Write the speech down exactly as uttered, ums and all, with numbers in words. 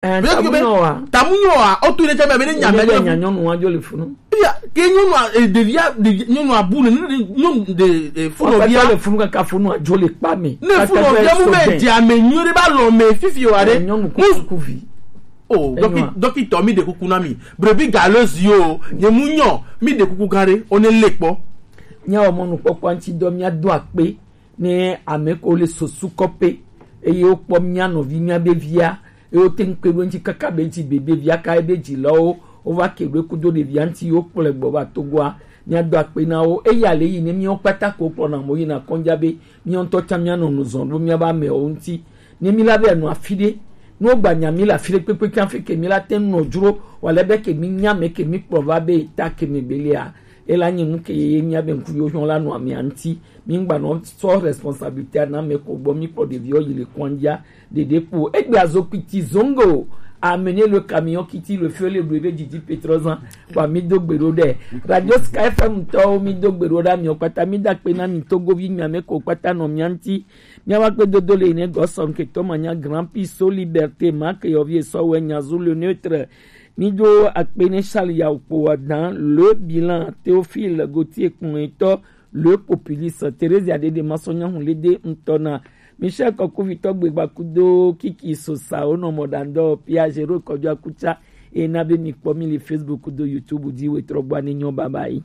Eh, tamu nyɔ wa. Tamu nyɔ wa, o tu ne tsa be ne nya me nyɔ. Nya nyɔnu wa jo le funu. Ya, ke nyɔnu a, eh, ɖevia, ɖevi, nyɔnu a bu ne, ne, nyɔnu de, eh, funu via. Wa le funu kaka funu a jo le kpa me. Ne funu via mu me di ame nyuie ɖe ba lɔ me fifi wa ɖe. Eh, nyɔnu kuku vi. Oh, doki, doki tɔ mi de kuku na mi. Brebi galeuse yo, nye mu nyɔ, mi de kuku gare, o ne le kpɔ. Nya wa mɔnu kpɔkpɔ ŋuti dɔ mia do akpe. Ne ame ko le sosu kɔpe, eye wokpɔ mía nɔvi mía be via, eye wote ŋu kpe ɖo eŋuti kaka be ŋuti be be via ka ebe dzilawo wova ke ɖo kudo ɖevia ŋuti wokplɔe gbɔ va Togoa, míado akpe na wo. Eya le yi ne míawo kpata ko kplɔna mo yina kɔnja be míawo ŋutɔ tsã míanɔ nu zɔm ɖo míabe amewo ŋuti. Ne míla be anɔ afi ɖe, ne wogba nya mí le afi ɖe kpekpe ke hafi ke míla te ŋu nɔ dzro wòale be ke mínya ame ke míkplɔ va be ta ke me gbelia, ela nyi nu ke ye mía be ŋku yo hiɔ la nɔ amea ŋuti. Mi ŋgba nɔ sɔ responsabilité na me ko gbɔ mi kpɔ ɖeviwo yi le kɔnjia ɖeɖe kpo. Egbe azo kpiti zongo, amené le camion kiti le feu le bleu be didi pétrozan. Kwa mi do gbe ɖo ɖe. Radio Sky F M tɔwo mi do gbe ɖo ɖe amiɔ kpata mi da kpe na mi Togovi mia me ko kpata nɔ mia ŋuti. Mia wa gbe dodo le ne gɔsɔn ke tɔ ma nya Grand Prix so Liberté ma ke yɔvi esɔ wɛ nya zu le neutre. Mi do akpe ne Charles Yaukpo wa dan le bilan Théophile Gauthier kpɔn etɔ le populiste Theresia Dede Masɔnya Hunlede ŋutɔ na Michel Kɔkuvitɔ gbegba kudo Kiki Sosa wonɔ mɔ dandɔ Pierre Géraud Kɔjɔ Akutsa ena be mi kpɔ mi le Facebook kudo YouTube di wetrɔ gba ne nyɔ baba yi.